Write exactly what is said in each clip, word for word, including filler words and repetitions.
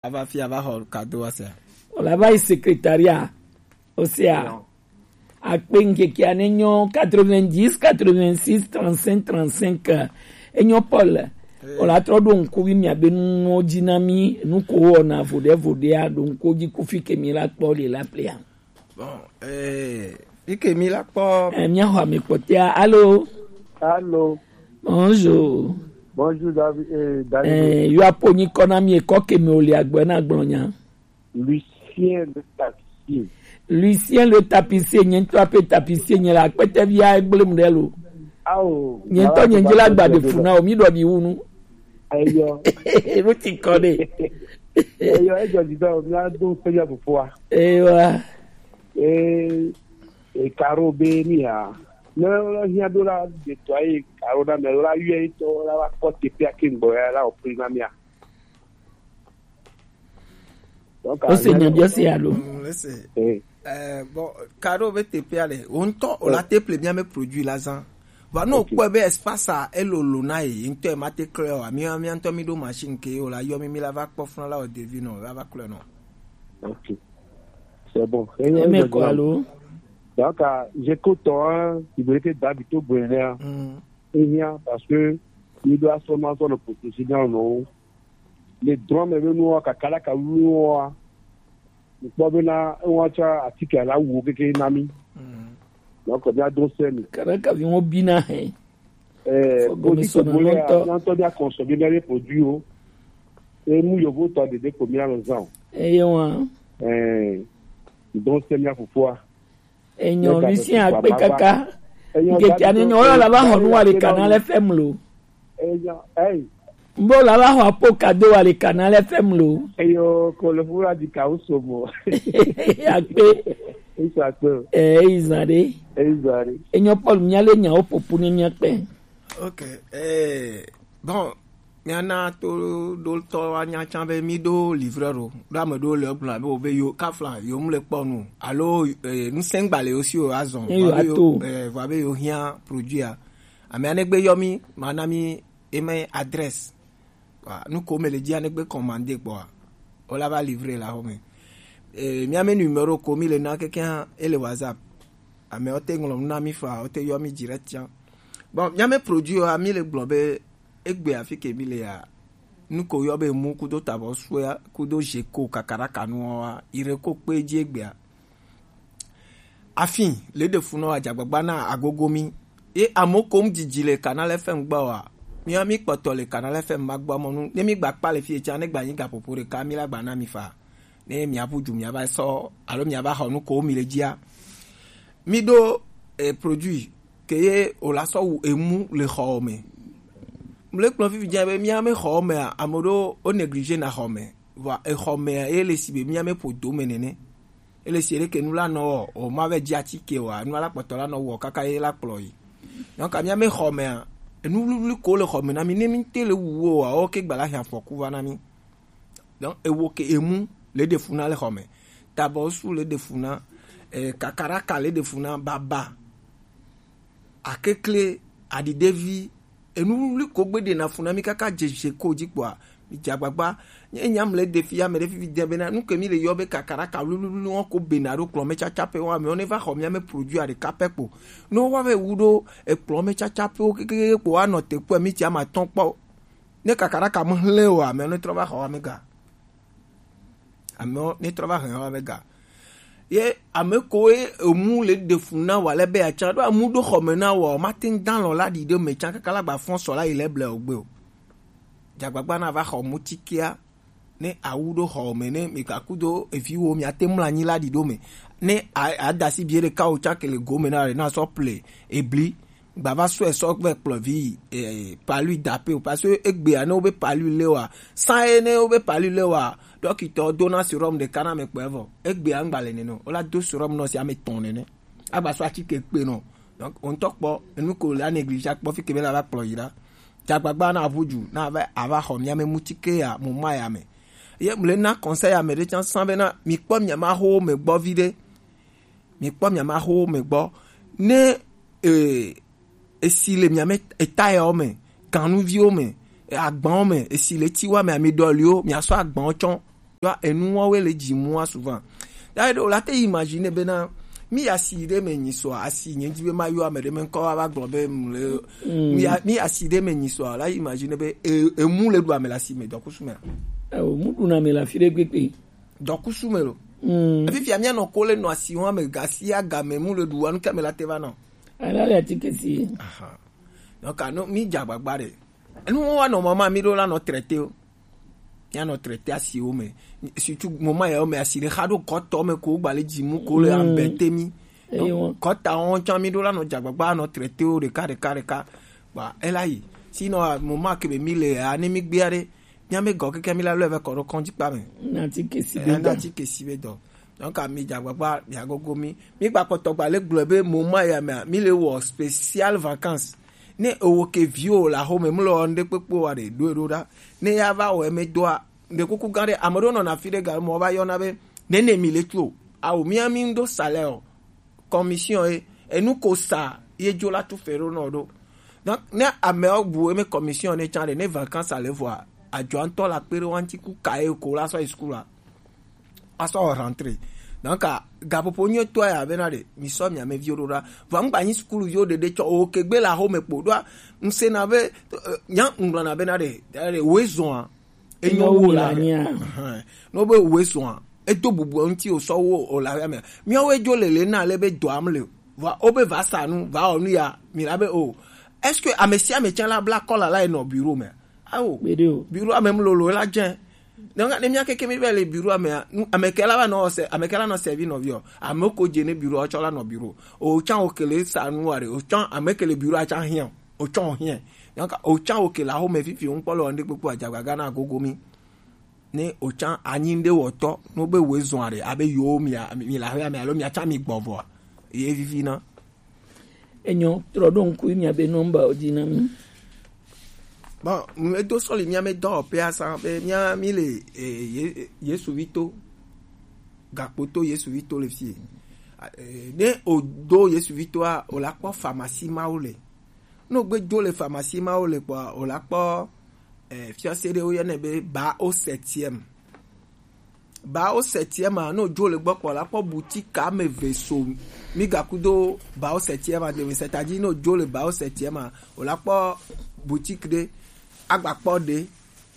Ava fi ava xɔ kado wa sia. Wòle ava yi secrétariat. Osea. Non. Akpe ŋkeke ane nyɔ quatre-vingt-dix, quatre-vingt-six, trente-cinq, trente-cinq. Enyo Paul. Eh. Wòle atrɔ ɖo ŋku vi mia be nuwo dzi na mi, nu ko wɔna voɖe voɖea, ɖo ŋku dzi ku fi ke mi la kpɔ le la plea. Bon, eh, fi ke mi la kpɔ. Eh, mia xɔ ame kpɔtɔa. Allô? Allô? Bonjour. Bonjour, David. Eh, David. Eh, yo apo nyi kɔ na mi ekɔ ke me o le agbe na gblɔ nya. Lucien le tapissier. Lucien le tapissier, nye ŋutɔ ape tapissier nye le akpete via egblem ɖe lo. Ao, nye ŋutɔ nye ŋdzi la gba ɖe fu na o, mi ɖɔ bi wu nu. Eyɔ. Enu ti kɔ ɖe. Eyɔ, ejɔ dzi dɔ, mia do ŋusẽ mia fofoa. Eyɔ. Eh, eh, Karo be ni ya. Ne wole hiã do la, de tɔ ye Karo na me la yɔ ye tɔ la va kpɔ teƒea ke ŋgbɔ ya la o pri na mia. Donc, o se nya biɔ se alo. Mm, lese. Eh. Eh, bon, Karo be teƒea le, o ŋutɔ, o la te ple mia me produit la zã. Va no kpɔe be espace a elolo na ye, ŋutɔ e ma te klɔe o, mi, mi ŋutɔ mi ɖo machine ke o la yɔ mi, mi la va kpɔ funa la o devi nɔ, la va klɔe nɔ. Ok. C'est bon. Eme ko alo. Donc, ah, j'écoute, hein, il veut que David to bonheur. Mm. Ehia, parce que il doit seulement faire le professionnel, non. Le drame est venu au Kakalaka, nous, nous, nous, nous, atike la wo keke na mi. Mm. Donc, bien, donc, c'est nous. Karaka vi ŋo bi na he. Eh, fo gomi so na lɔntɔ. Lɔntɔ bia consommer bien les produits o. Et nous, yo vo to de de combien les gens. Eh, yo, hein. Eh, donc, c'est bien pour toi. Enyo, Lucien akpe kaka. Ŋkeke ane nyɔ, wala la va xɔ nu wa le Canal F M lo. Enyo, ei. Mbo la va xɔ apo kado wa le Canal F M lo. Eyo, ko le fura di ka usomo. Akpe. Isa akpe. Eh, izan de. Izan de. Enyo Paul, mia le nya o popu ne mia kpe. Ok, eh, bon, míana toɖotɔ wa nya tsã be mí ɖo livreur o. Ɖo ame ɖewo le egblɔ be wobe yo kafla yo mu le kpɔ nu. Alo, eh, ŋusẽgba le yo si o azɔ. Ye yo vɔ be yo, ato. Eh, vɔ be yo hiã produit a. Ame anegbe yɔ mí, ma na mí email adresse. Wa, nu ko me le dzi anegbe commande kpɔa. O la va livrer la home. Eh, mía me numéro ko mí le na keke hã, ele WhatsApp. Ame o te ŋlɔ nu na mí fa, o te yɔ mí direct tsã. Bon, mía me produit wa, mí le gblɔ be egbe afi ke mí le ya. Nu ko yɔ be mu kudo tabɔ suya, kudo je ko kakaraka nu wa, ire ko kpe dzi egbea. Afin le ɖe fu nɔ adzagbagba na agogo mí. Ye amewo kom dzidzi le Canal F M gbɔ wa. Mía mí kpɔtɔ le Canal F M ma gbɔ mɔ nu. Ne mí gba kpa le fi tsã, ne gba nyi gaƒoƒo ɖeka, mí la gba na mi fa. Ne mía ƒu du, mía va sɔ, alo mía va xɔ nu ko mí le dzia. Mí ɖo, eh, produit ke ye o la sɔ wu emu le xɔ me. Mle kplɔ fifi dze be mía me xɔ mea, ame ɖewo o négligé na xɔ me. Vɔa exɔ mea, ye le si be mía me ƒo do me nene. Ele si ɖeke nu la nɔ o, o ma vɛ dzi atike o, nu la kpɔtɔ la nɔ wɔ kaka ye la kplɔ yi. Donc, mía me xɔ mea, enu wluwlui ko le xɔ me na mí, ne mí te le wu wo, o ke gba la hiã afɔku va na mí. Donc, ewo ke emu le ɖe fu na le xɔ me. Tabɔ su le ɖe fu na, eh, kakaraka le ɖe fu na, baba. Akekle, aɖiɖevi, enu wluwlui ko gbe ɖena fu na mí kaka dze je ko dzi kpɔa, mí dze agbagba. Nye nya mle ɖe fi, ame ɖe fifi de bena, nu ke mí le yɔ be kakaraka wluwlui wɔn ko bena ɖo kplɔ me tsatsa pe wɔn, amewo ne va xɔ mía me produit a ɖeka pɛ kpo. Ne wo va vɛ wu ɖo ekplɔ me tsatsa pe wo kekeke kpo, woanɔ te kpɔe, mí tsi ama tɔn kpɔ. Ne kakaraka me hlẽ o, amewo ne trɔ va xɔ wa me ga. Amewo ne trɔ va hɛn wa be ga. Ye ame koe emu le ɖe fu na wa le be atsã ɖo amu ɖo xɔ me na wa, o ma te ŋu da lɔ la ɖi ɖe me tsã kaka la gba fɔn sɔ la yi le ble o gbe o. Dzagbagba na va xɔ mu tsikea, ne awu ɖo xɔ me, ne mi ka kudo evi wo, mia te mla anyi la ɖi ɖo me. Ne a, a da si bie ɖeka o tsã ke le go me na, na sɔ ple ebli. Gba va sɔe sɔ vɛ kplɔ vi, eh, palu dape o, parce que egbea ne wobe palu le wa, san ye ne wobe palu le wa, dɔkitɔ dona serum ɖeka na ame kpɔe vɔ. Egbea ŋgba le nene o, wola do serum nɔ si ame tɔn nene. Agba sɔ atike kpe nɔ. Donc, o ŋutɔ kpɔ, enu ko la négligé kpɔ fi ke be la va kplɔ yi ɖa. Dzagbagba na aʋu dzu, na va, ava xɔ mía me mutike ya, mo ma ya me. Ye mle na conseil ya me ɖe tsã san be na, mi kpɔ mia ma ho me gbɔ vi ɖe. Mi kpɔ mia ma ho me gbɔ. Ne, eh, esi le mia me, eta yawo me, ganuviwo me, eh, agbawo me, esi le tiwa me, ami ɖɔliwo, mia sɔ agbawo tsɔ. Yɔ enu wɔn wɛ le dzi mu wa souvent. Ya ɖe o la te imagine bena mi ya si ɖe me nyi sɔ asi nye dzi be ma yɔ ame ɖe me ŋkɔ wa va gblɔ be mu le mi ya mi ya si ɖe me nyi sɔ la imagine be e- emu le ɖu ame la si me dɔkusu me. Ewo, mu ɖuna me la fi ɖe gbegbe. Dɔkusu me lo. Mm. Fifia mia nɔ ko le nɔ asi wɔn ame gasi aga me mu le ɖu wa nu ke me la te va nɔ. Ala le atike si. Aha. Donc, ah, non, mi dza agbagba ɖe. Enu wo wa nɔ mama mi ɖo la nɔ traité o. Mia nɔ traité asiwo me. Surtout moment yawo me asi ɖe xa ɖo kɔtɔ me ko gba le dzi mu ko le ambete mi. Eyo. Kɔta wɔn tsã mi ɖo la nɔ dza agbagba nɔ traité o ɖeka ɖeka ɖeka. Ba ela yi. Sinon, ah, moment ke be mi le ya ne mi gbea ɖe. Mia me gɔ keke mi la lɔ vɛ kɔ ɖo kɔndzi kpa me. Na ti kesi be dɔ. Na ti kesi be dɔ. Donc, ah, mi dza agbagba mi agogo mi. Mi gba kpɔtɔ gba le gblɔ be moment ya me mi le wɔ spécial vacances. Ne ewo ke viwo le axome mlɔ ŋɖe kpekpe wa ɖe ɖo eɖo ɖa. Ne ya va wɔ eme doa ɖe kuku gã ɖe ame ɖewo nɔna fi ɖe ga mɔ va yɔna be nene mi le tso awo mia mi ŋɖo salaire o commission ye enu ko sa ye dzo la tu fe ɖo nɔ ɖo. Donc ne amewo bu eme commission ne tsã ɖe ne vacances ale vɔa adzɔa ŋutɔ la kpe ɖe wa ŋuti ku ka ye ko la sɔ yi sukulu la asɔ rentré. Donc, ah, gaƒoƒo nyuitɔa ya bena ɖe mi sɔ mia me viwo ɖo ɖa. Vɔ ŋgba nyi sukuluviwo ɖeɖe tsɔ o ke gbe la xome kpo ɖoa. Ŋsena be eh, nya ŋgblɔna bena ɖe ɖe woezɔa enyo wo la. Ehɛn. No be woezɔa edo bubu ŋuti o sɔ wo o la ya me. Miawo edzo lele na le be dɔam le. Vɔ o be va sa nu va o nu ya mi la be o. Est-ce que ame sia ame tsã la bla kɔla la enɔ bureau me? Awo. Gbeɖe o. Bureau ame mu lolo la dze. Donc ne mia keke mi be le bureau ame a, nu- ame ke la va nɔ se ame ke la nɔ servi nɔvi o. Ame ko dze ne bureau tsɔ la nɔ bureau. O tsã o kele sa nu wa re. O tsã ame kele bureau a tsã hiã. O tsã o hiã. Donc o tsã o kele aho me fifi o ŋkpɔ le o ne kpekpe adzagaga na gogo mi. Ne o tsã anyi ɖe wɔtɔ no be wo zɔn are abe yo mi a- mi la hia mi alo mi a tsã mi gbɔvɔ. Ye vivi na. Enyo, trɔ ɖo ŋku mia be nɔmba wo dzi na mi. Bon, edo sɔli mia me dɔwɔƒea sa be mia mi le eh, Ye- Yesu vito gakpoto Yesu vito le fie. Eh, ne o do Yesu vitoa o la kpɔ pharmacie mawo le. Ne o gbe do le pharmacie mawo le kpɔa o la kpɔ eh, fiase ɖe wo yɔnɛ be ba o septième. Bao septième a, ne o dzo le gbɔ kpɔ la kpɔ boutique ame eve so mi gakudo bao septième a deme, c'est-à-dire ne o dzo le bao septième a o la kpɔ boutique ɖe agba kpɔ ɖe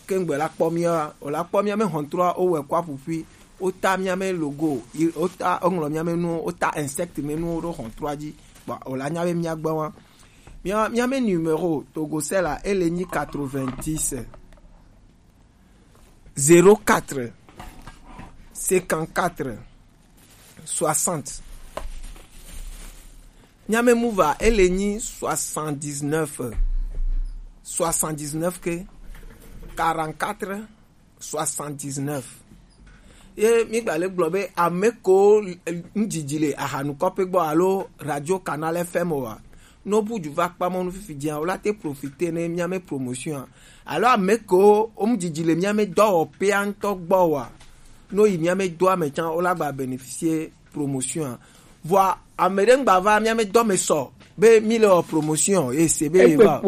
kengbe la kpɔ mia o la kpɔ mia me hɔntrɔa o wɛ kɔ aƒuƒui o ta mia me logo o ta o ŋlɔ mia me nuwo o ta insect me nuwo ɖo hɔntrɔa dzi. Bon o la nya be mia gbe wa mia mia me numéro togo sela ele nyi quatre-vingt-dix zéro quatre cinquante-quatre soixante. Nyame muva ele nyi soixante-dix-neuf soixante-dix-neuf ke quarante-quatre soixante-dix-neuf. Ye mi gba le gblɔ be ame ko ŋdzidzi le ahanukɔƒe gbɔ alo radio canal F M oa, no bu dzu va kpa mɔnu fifi dzia o la te profiter ne mia me promotion a. Alo ame ko wo mu dzidzi le mia me dɔwɔƒea ŋutɔ gbɔ wa, no yi mia me dɔa me tsã o la gba bénéficier promotion a. Vɔa ame ɖe ŋgba va mia me dɔ me sɔ be mi le wɔ promotion ye se be ye va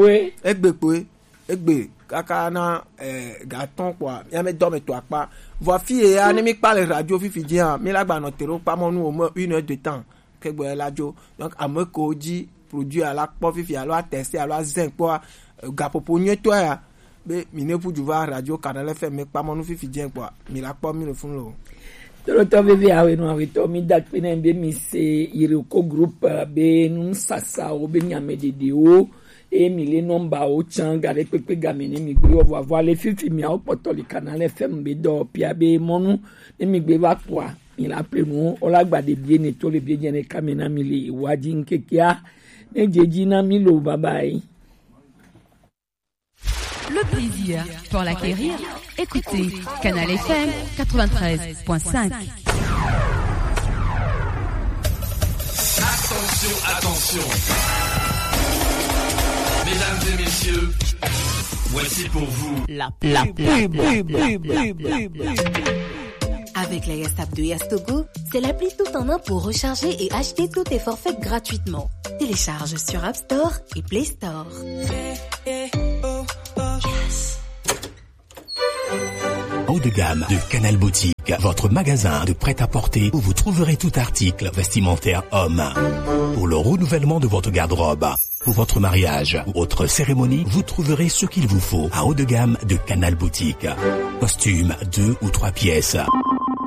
egbe kpoe egbe kaka na eh, ga tɔn kpɔa mia me dɔ me to akpa. Vɔa fi ye ya ne mi kpa le radio fifi dzia mi la gba nɔ te ɖo kpa mɔnu o me une heure de temps. Kegbe la dzo. Donc ame ko dzi produit alo akpɔ fifi alo atɛse alo azɛ kpɔa gaƒoƒo nyuitɔ ya be mi ne ƒu du va radio canal F M mi kpa mɔnu fifi dze kpɔa mi la kpɔ mi le funu lo. Tolotɔ veve awe no awe tɔ mi da kpe ne be mi se Iroko group be nusasawo be nyame ɖeɖewo e mi le nɔmba wo tsã ga ɖe kpekpe game ne mi gbe wɔ vɔ avɔ ale fifi miawo kpɔtɔ le canal F M be dɔ pia be mɔnu ne mi gbe va kpɔa mi la ple nu o la gba ɖe bie ne to le bie dze ne kame na mi le wa dzi ŋkekea ne dze dzi na mi lo bye bye. Le plaisir pour l'acquérir, écoutez Canal F M quatre-vingt-treize point cinq. Attention, attention. Mesdames et messieurs, voici pour vous la, la pub. Avec la Yastap de Yastogo, c'est l'appli tout en un pour recharger et acheter tous tes forfaits gratuitement. Télécharge sur App Store et Play Store. Haut de gamme de Canal Boutique, votre magasin de prêt-à-porter où vous trouverez tout article vestimentaire homme. Pour le renouvellement de votre garde-robe, pour votre mariage ou autre cérémonie, vous trouverez ce qu'il vous faut à Haut de gamme de Canal Boutique. Costume deux ou trois pièces,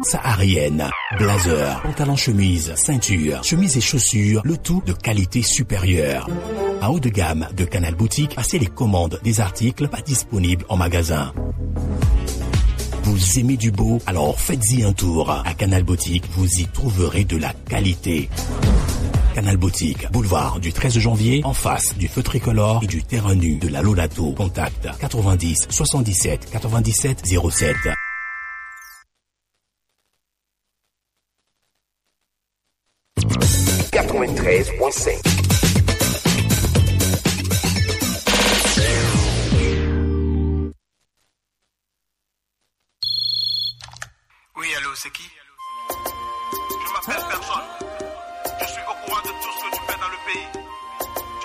saharienne, blazer, pantalon chemise, ceinture, chemise et chaussures, le tout de qualité supérieure. À Haut de gamme de Canal Boutique, passez les commandes des articles pas disponibles en magasin. Vous aimez du beau ? Alors faites-y un tour. À Canal Boutique, vous y trouverez de la qualité. Canal Boutique, boulevard du treize janvier, en face du feu tricolore et du terrain nu de la Lolato. Contact quatre-vingt-dix soixante-dix-sept quatre-vingt-dix-sept zéro sept. Quatre-vingt-treize point cinq. Oui, allô, c'est qui ? Je m'appelle personne.